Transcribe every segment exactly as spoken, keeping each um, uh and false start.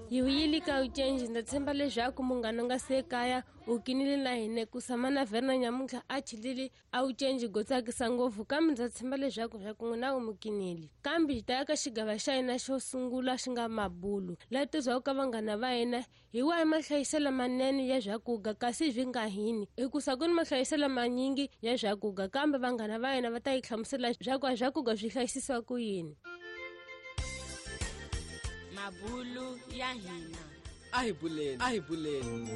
Hi vuyile ka ucenji ndza tshemba leswaku munghana nga se kaya u kinile na hina ku samana Verna nyamuntlha a chilile a ucenji go tsakisa ngopfu kambe ndza tshemba leswaku swa ku n'wina u mu kinile. Kambe hi ta ya ka xigava xa hina xo sungula xi nga mabulu laha tizwaku ka vanghana va hina hi wahi mahlayiselo manene ya swakuga kasi swi nga hini hikusa ku ni mahlayiselo manyingi ya swakuga kambe vanghana va hina va ta yi hlamusela swaku a swakuga swi hlayisisiwa ku yini. Mabulu ya hina. A hi buleni, a hi buleni.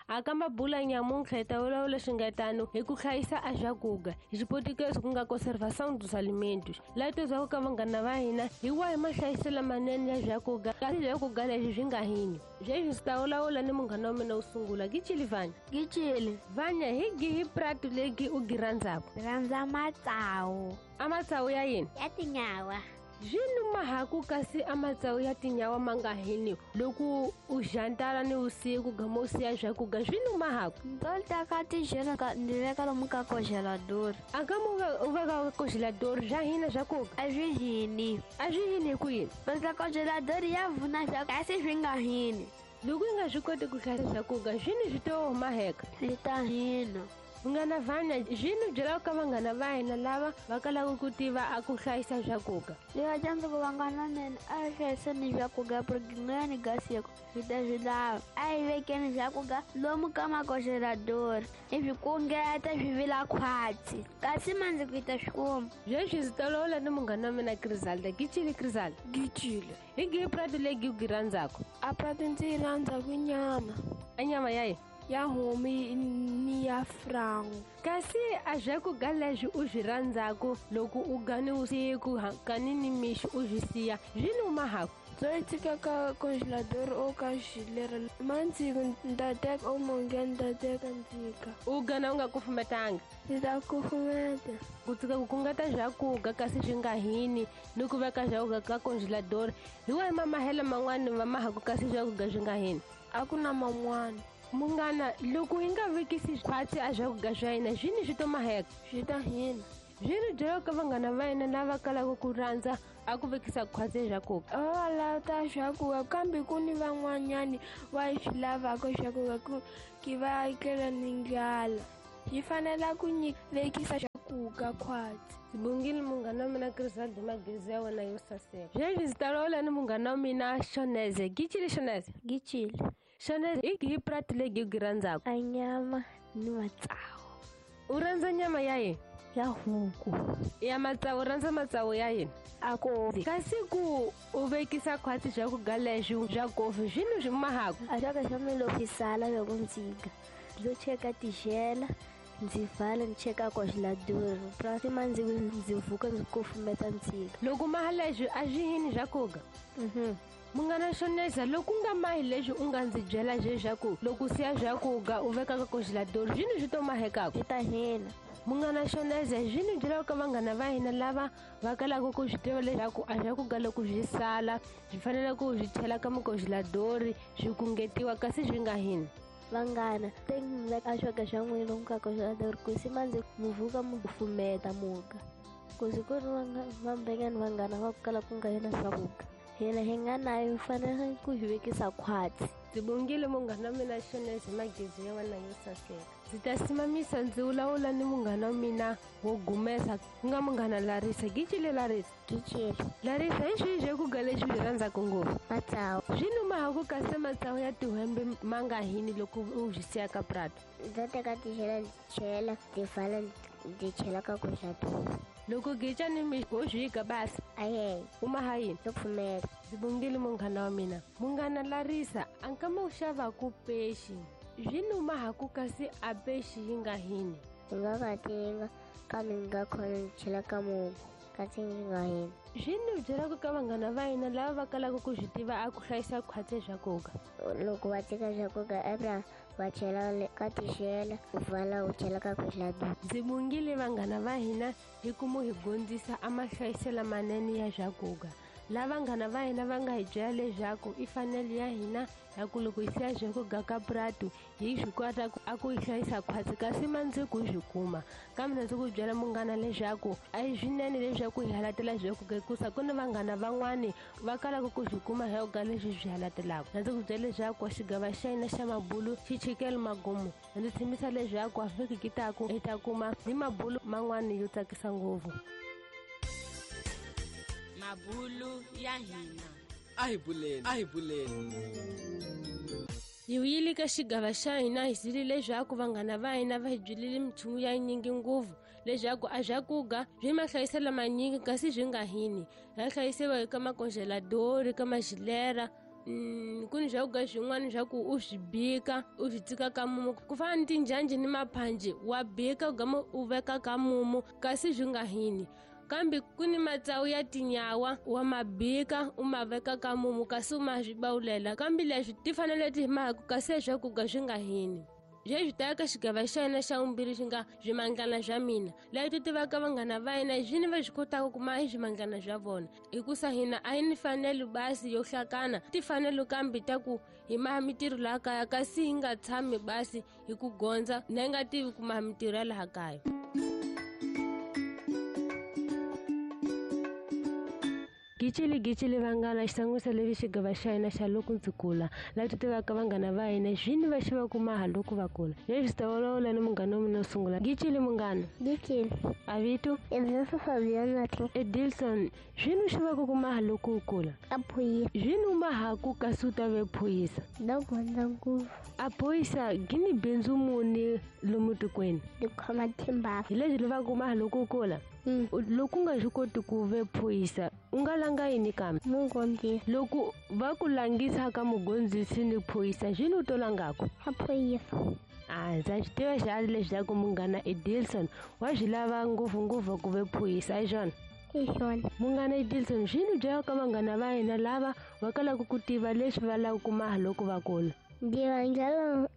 Aka mabula nyamuntlha hi ta vulavula swi nga tano hi ku hlayisa a swakuga hi xipotikezi ku nga conservação dos alimentos laha tizwaku ka vanghana va hina hi wahi mahlayiselo manene ya swakuga kasi swakuga leswi swi nga hini. Sweswi swi ta vulavula ni munghana wa mina wo sungula Gichili Vanya. Gichili Vanya, hi gihi pratu legi u gi rhandzaku? Rhandza matsawu. A matsawu ya yini? Ya tinyawa. Swi numa haku kasi a matsawu ya tinyawa ma nga hini loko u jantala ni vusiku gama u siya swakuga swi numa haku? Ndo teka tixela ka ndzi veka lomu ka congelador. A ka mu u veka congelador swa hina swakuga? A swi hini. A swi hini hi ku yini? Basa congelador ya vuna swa kasi swi nga hini. Loko i nga swi koti ku hlayisa swakuga swi ni swi to huma heka? Swi ta hina. Munghana Vanya, swi ni byelaka ka vanghana va hina lava va kalaka ku tiva a ku hlayisa swakuga. Ni va dyondza ku vanghana mina a hi hlayiseni swakuga porque n'wani ga siku swi ta swi lava. A hi vekeni swakuga lomu ka macongelador hi swi kungeta swi vila khwatsi kasi mandzuku hi ta swi kuma. Sweswi ndzi ta vulavula ni munghana wa mina Griselda. Gichili Griselda. Gichile. Hi gihi pratu legi u gi rhandzaku? A pratu ndzi yi rhandzaku nyama. A nyama ya yini? Ya homu ni ya frango. Kasi a swakuga leswi u swi rhandzaku loko u ga ni vusiku kani ni mixo u swi siya swi numa haku? Ndzo yi tshika ka congelador o ka xilera mandziku ni ta teka o monge ni ta teka ndzika. U gana u nga kufumetanga? Ndzi ta kufumeta. Ku tshika ku kungeta swakuga kasi swi nga hini ni ku veka swakuga ka congelador hi wahi mamahelo man'wani va mahaku kasi swakuga swi nga hini? A ku na man'wana. Munghana, loko hi nga vekisi khwatsi a swakuga swa hina swi ni swi to maheka? Swi ta hina. Swi ni byelaka ka vanghana va hina lava kalaka ku rhandza a ku vekisa khwatsi swakuga. Va lava swakuga kambe ku ni van'wanyani va swi lavaka swakuga ku ki va etlela ni ndlala. Hi fanela ku vekisa swakuga khwatsi. Sibongile munghana wa mina Griselda magezi ya wena yo saseka. Sweswi ndzi ta vulavula ni munghana wa mina Shoneze. Gichili Shoneze. Gichili. Shoneze, hi gihi pratu legi u gi rhandzaku? A nyama ni matsawu. U rhandza nyama ya yini? Ya huku. Ya matsawu, u rhandza matsawu ya yini? A kofi. Kasi ku u vekisa khwatsi swakuga leswi swa kofi swi ni swi mahaku? A swa ka swa mina loko swi sala loko ndzi ga ndzo cheka tixela ndzi vala ni cheka congelador prasi mandzuku ndzi vuka ndzi kufumeta ndzika. Loko maha leswi a swi hini swakuga? Mhm. Munghana Shoneza, loko u nga mahi leswi u nga ndzi byela leswaku loko u siya swakuga u veka ka congelador swi ni swi to mahekaku? Swi ta hina. Munghana Shoneza, swi ni byelaka ka vanghana va hina lava va kalaka ku swi tiva leswaku a swakuga loko swi sala swi fanele ku swi chela ka mucongelador swi kungetiwa kasi swi nga hini. Vanghana, teki veka swakuga swa n'wina lomu ka congelador ku si mandzuku mu vuka mu kufumeta muga. Ku si ku ri vambengani vanghana va ku kala ku nga hina swakuga. Hina hi nga nayo hi fanele ku hi vekisa khwatsi. Ndzi bongile munghana wa mina Shoneze magezi ya wena yo saseka. Ndzi ta simamisa ndzi vulavula ni munghana wa mina wo gumesa ku nga munghana Larisa. Gichile Larisa. Gichile. Larisa, hi swihi swakuga leswi swi rhandzaku ngopfu? Matsawu. Swi numa haku kasi matsawu ya tihwembe ma nga hini loko u swi siya ka pratu? Ndzo teka tixela ndzi chela ndzi vala ndzi chela ka congelador. Loko gicha ni mixo wo swi ga basi? Aye. U maha yini? Ndzo pfumela. Ndzi bongile munghana wa mina. Munghana Larisa, a nkama u xavaku pexi swi numa haku kasi a pexi yi nga hini? Ndzi nga katinga kambe ndzi nga khona ndzi chela ka mungu kasi yi nga hini. Swi ni byelaka ka vanghana va hina lava va kalaka ku swi tiva a ku hlayisa khwatsi swakuga. Loko va teka swakuga ebra va chela ka tixela u vala u chela ka congelador. Ndzi bongile vanghana va hina hi ku mu hi dyondzisa a mahlayiselo manene ya swakuga. Lava vanghana va hina va nga hi byela leswaku i fanele ya hina ya ku loko hi siya swakudya ka puratu hi swi kota a ku yi hlayisa khwatsi kasi mandzuku hi swi kuma. Kambe ndzi ku byela munghana leswaku a hi swinene leswaku hi halatela swakudya hikusa ku ni vanghana van'wani va kalaka ku swi kuma swakudya leswi swi halatelaka. Ndzi ku byela leswaku xigava xa hina xa mabulu xi chikele magumu. Ndzi tshembisa leswaku a vhiki ki taku hi ta kuma ni mabulu man'wani yo tsakisa ngopfu. Mabulu ya hina. A hi buleni, a hi buleni. Hi wuyile ka xigava xa hina hi zile leswaku vanghana va hina va hi byelile minchumu ya nyingi ngopfu leswaku a swakudya swi mahlayiselo manyingi kasi swi nga hini. Ya hlayisiwa eka makongeladori, ka maxilera. Mm, ku ni swakudya swin'wana swa ku u swi bika u swi tshika ka mumu ku fana ni tinjhanji ni maphanji wa bika u gama u veka ka mumu kasi swi nga hini. Kambe ku ni matsawu ya tinyawa wa mabika u ma veka ka mumu kasi u ma swi bawulela kambe leswi ti fanele ti mhaku kasi swakudya swi nga hini. Leswi ta ka xigava xa hina xa vumbirhi xi nga swimandlana swa mina laha ti tivaka vanghana va hina hi swini va swi kotaka ku maha swimandlana swa vona hikusa hina a hi ni fanelo basi yo hlakana tifanelo kambe ta ku hi maha mintirho laha kaya kasi hi nga tshami basi hi ku gondza na hi nga tivi ku maha mintirho ya laha kaya. Gicili gicili vanghana xitsan'wisa levi xigava xa hina xa loko ndzi kula laha ti tivaka vanghana va hina swini va xi va kuma loko va kula. Leswi swi ta vulavula ni munghana wa mina wo sungula. Gicili munghana. Gicili. A vito? Edilson Fabiana. Edilson, swini xi va ku kuma loko u kula? A phuyisa. Swini u mahaku kasi u ta ve phuyisa? Na gondza ngopfu. A phuyisa gini bindzu muni lomu tikweni? Ndi khoma timbava. Hi leswi lavaka ku maha loko u kula? Mm. Loko u nga swi koti ku ve phuyisa u nga langa yini kambe? Mugondzisi. Loko va ku langisa ka mugondzisi ni phuyisa swini u to langaku? A phuyisa. A ndza swi tiva xihari leswaku munghana Edilson wa swi lava ngopfungopfu ku ve phuyisa hi swona? Hi swona. Munghana Edilson, swini byela ka vanghana va hina lava va kalaka ku tiva leswi va lavaka ku maha loko va kula? Ndzi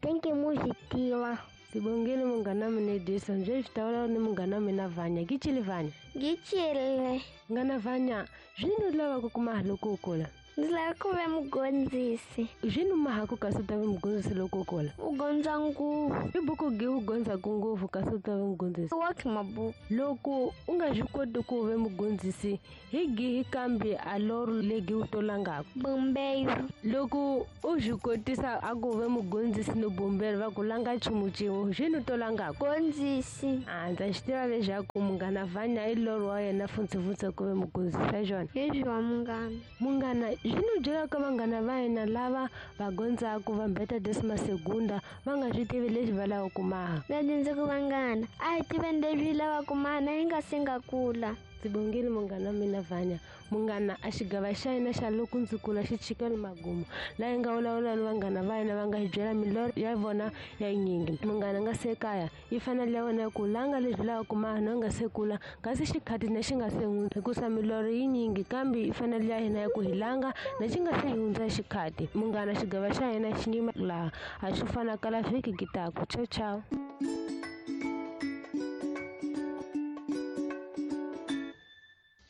tenke mu swi tiva. Sibongile munghana mina Edilson, sweswi ta vulavula ni munghana mina Vanya. Gicili Vanya. Gicile. Munghana Vanya, swini u lavaka ku maha loko u kula? Ndzi lava ku va mugondzisi. Swini u mahaku kasi u ta va mugondzisi loko u kula? U gondza ngopfu. I buku gi u gondzaku ngopfu kasi u ta va mugondzisi? Wa mabuku. Loko u nga swi koti ku ve mugondzisi hi gihi kambe a loro legi u to langaku? Bumbelo. Loko u swi kotisa a ku ve mugondzisi ni bumbelo va ku langa nchumu xin'we swini u to langaku? Gondzisi. A ndza swi tiva leswaku munghana Vanya i loro wa yena funtsefuntse ku ve mugondzisi hi swona? Hi swona munghana. Munghana, swini u byelaka vanghana va hina lava va gondzaku va mbeta desima segunda va nga swi tivi leswi va lavaka ku maha? Na ndzi ku vanghana a hi tiveni leswi hi lavaka ku maha na hi nga se nga kula. Sibongile munghana mina Vanya. Munghana, a xigava xa hina xa loko ndzi kula xi chikele magumu laha hi nga vulavula ni vanghana va hina va nga hi byela milorho ya vona ya yinyingi. Munghana nga se kaya yi fanele ya wena ku langa leswi lavaka ku maha na nga se kula kasi xikhati na xi nga se hundza hikusa milorho yi nyingi kambe yi fanele ya hina ya ku hi langa na xi nga se hundza xikhati. Munghana, xigava xa hina xi nyima laha a swi fana kala vhiki ki taku. Ciao ciao.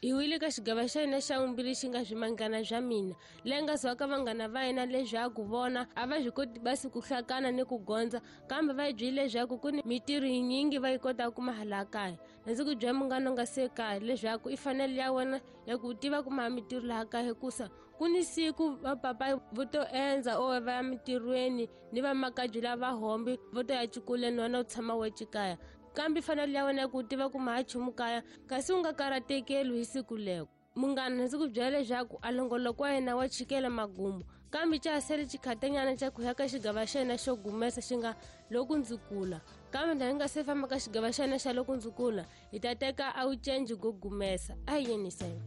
Hi wile ka xigava xa hina xa vumbirhi xi nga swimangana swa mina leyi nga zwaka vanghana va hina leswaku vona a va swi koti basi ku hlakana ni ku gondza kambe va hi byele leswaku ku ni mintirho yinyingi va yi kotaka ku maha laha kaya. Ndzi ku byela munghana nga se kaya leswaku i fanele ya wena ya ku tiva ku maha mintirho laha kaya hikusa ku ni siku vapapa vo to endza or va ya mintirhweni ni vamakabye lava hombi vo to ya xikolweni wena u tshama wexe kaya. Kambe fanele ya wena ku tiva ku maha nchumu kaya kasi u nga karhatekeli hi siku leko. Munghana, ndzi ku byela leswaku a longoloko wa yena wa chikela magumu kambe xa ha sele xikhatanyana xa ku ya ka xigava xa hina xo gumesa xi nga loko ndzi kula. Kambe ndza hi nga se famba ka xigava xa hina xa loko ndzi kula hi ta teka a wu cenji go gumesa. A hi yeniseni.